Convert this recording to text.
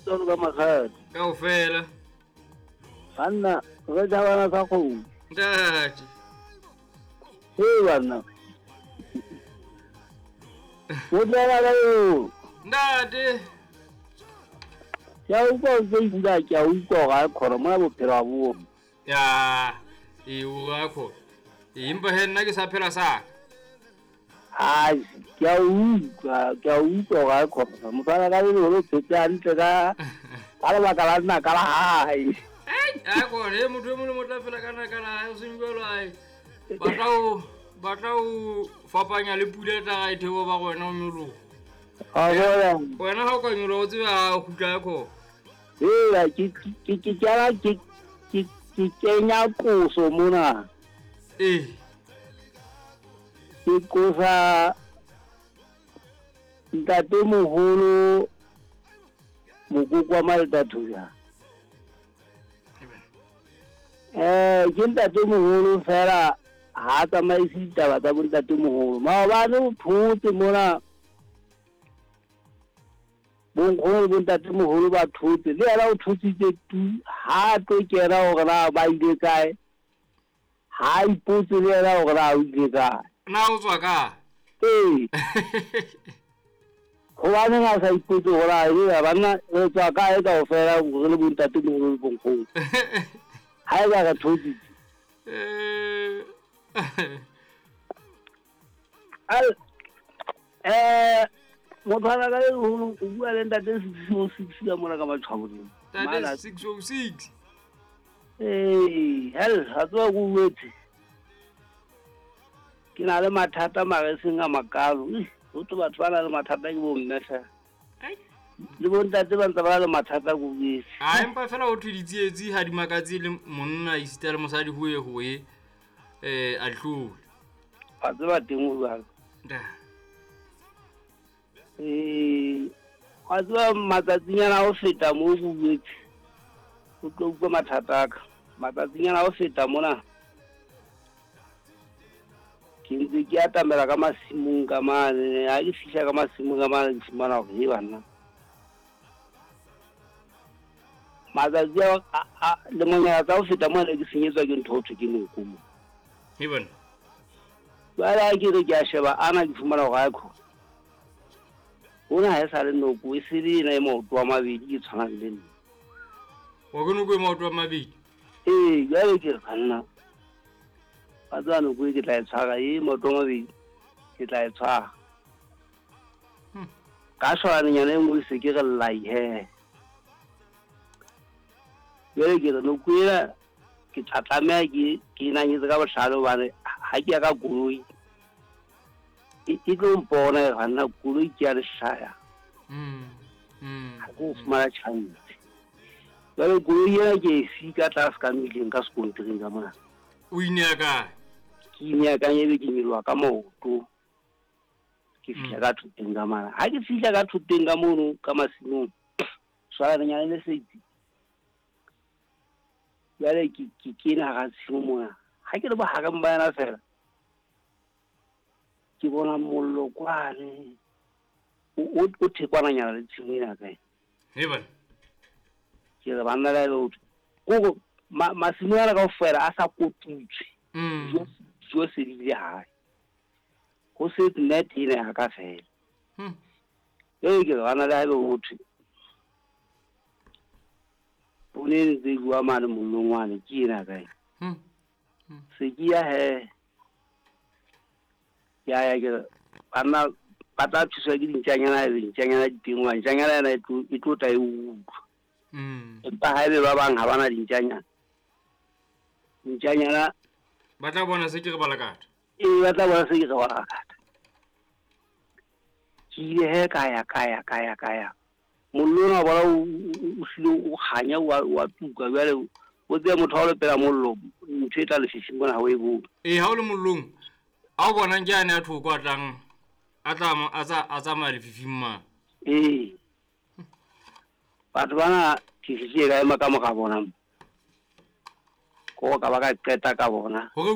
Tsolo ka makgadi. Kaofela. Banna, re thabana sa kgomo. Ntate. Hei banna. O tlela ka eo. Ntate. Ke a utlwa o ntse bula, ke a utlwa hore a khona mona bophelo ha bo. Ya, e o ra khona. Empa he nna ke sa phela sa ka. Ai, ke a utlwa, ke a utlwa hore a khona. Mosala ka le o phetse hantle ka ka lebaka la nna ka la hae. Ai, a khona, e motho e mong le motho a phela ka nna ka la hae, o seng jwalo ai. Batla o fapanya le pula e tla ga e theoha ba go wena o nyoloha. A bona. Wena ha o ka nyoloha o tsebe ha o kgutla ya khona. Hela ke kenya qoso mona. Ee. Ke qosa ntate moholo mokoko wa Maltathuja. Ke ntate moholo fela ha a tsamaise ditaba tsa bontate moholo. Maobane o thotse mona bonkgono le bontate moholo ba thotse, le yena o thotsitse tu, ha tlo kena hore na ba ile kae, ha ipotse le yena hore na o ile kae. Na o tswa kae? Ee. Hobaneng a sa ipotse hore na ebe banna re tswa kae kaofela re le bontate moholo le bonkgono? Ha eba re thotsitse. Motho a ka le o bua le ntate 606 ka mona ka Matshwabong. Ntate 606. Ee, hell, ha tswa go wetse. Ke na le mathata mare e seng a makalo. Ho tlo batho ba na le mathata ke bo mme fela. Le bo ntate ba ntse ba na le mathata ko wetse. A empa fela ho thwe ditsietsi ha di makatse le monna esita le mosadi ho ye ho ye a di hlole. Wa tseba teng ho jwalo. Wa tseba matsatsinyana a ho feta moo ko wetse. O tlo utlwa mathata a ka. Matsatsinyana a ho feta mona. Ke ntse ke atamela ka masimong ka mane, ha ke fihla ka masimong ka mane ke fumana hore he banna. Matsatsi a lemonyana tsa ho feta mona ke senyetswa ke ntho ho thwe ke noko mo. He banna. Jwale ha ke re ke a sheba ana ke fumana hore ha khona. Hona ha e sa le noko e se le ena e maoto a mabedi ke tshwanang le nna. Wa ke noko e maoto a mabedi? Ee, jwale ke re banna. Ba tseba noko e ke tla e tshwara e maoto a mabedi ke tla e tshwara. Ka shwalanenyana e nngwe se ke re llai he. Jwale ke re noko ena ke tla tlameha ke nanyetse ka bohlale hobane ha ke ya ka koloi e tlo mpona e banna koloi ke ya lehlaya. Ha ke o fumana chance. Jwale koloi ena ke e sika tlase ka mmileng ka sekontiring ka mona. O ineya kae? Ke ineya ka ebe ke nyoloha ka maoto. Ke fihla ka thoteng ka mona. Ha ke fihla ka thoteng ka mono ka masimong, swalanenyana le setsi. Jwale ke kena hara tshimo mona. Ha ke le bohareng ba yona fela, ke bona mollo kwane. O thekwananyana le tshimo ena kae. He bana. Ke re banna le lotho. Kore masimo ana kaofela a sa kotutswe. Dijo se di ile hae. Ho se net ena ya ka fela. Ee, ke re bana le haebe ho thwe. Poone e ntse e bua mane mollong wane, ke ena kae. Se ke ya he. Ke a ya ke re, banna ba tla thuswa ke dintjanyana, haebe dintjanyana di teng, hobane ntjanyana ena e tlo tla e utlwa. Empa haebe ba bang ha bana dintjanyana. Ntjanyana ba tla bona se ke re balakata. Ee, ba tla bona se ke re balakata. Ke ile he ka ya ka ya ka ya ka ya. Mollo ona wa bona o hlile o kganya wa tuka jwale o tsebe motho ha o le pela mollo ntho e tla lefifing mona ha o e bone. Ee, ha o le mollong a o bonang ke ane a thoko a tlang a tla a tsamaya lefifing mane. Ee. Batho bana ke fihlile ka ema ka mora bona. Ko ka ba ka qeta ka bona. Hore